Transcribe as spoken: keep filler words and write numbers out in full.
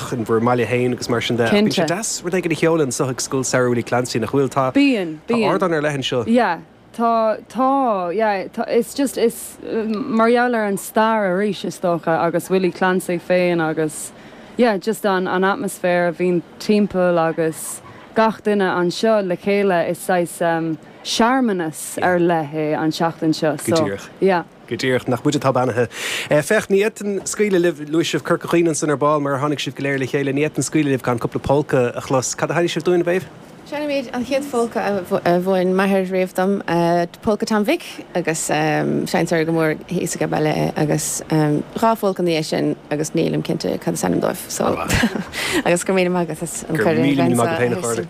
amach in bhur mbaile féin agus mar sin de. Bíonn sé deas rud éigin a sheoladh anseo ag Scoil Samhraidh Willie Clancy nach bhfuil tá Bíonn Tá ardán ar leith anseo. Yeah. Tá tá yeah, tá, it's just is mar gheall ar an stair arís is dócha agus Willie Clancy féin agus yeah, just an an atmaisféar a bhíonn timpeall agus gach duine anseo le chéile is saghas um, searmanas ar leith é an seachtain seo so díreach. yeah. Go díreach nach muid atá beannaithe. Féach ní fhéadfainn scaoileadh libh luaigh sibh Corca Dhuibhne ansan ar ball mar tháinig sibh go léir le chéile ní fhéadfainn scaoileadh libh gan cúpla polca a chlos. Cad a sheinnfidh sibh dúinn Mhéabh? Seinnfimid an chéad pholca a mhúin m'athair riamh dom polca Tom Mhic agus seinntear go mór thíos ag baile agus dhá pholca ina dhiaidh sin agus nílim cinnte cad is ainm dóibh so agus go míle maith agat an Go míle míle maith agat féin a chairde.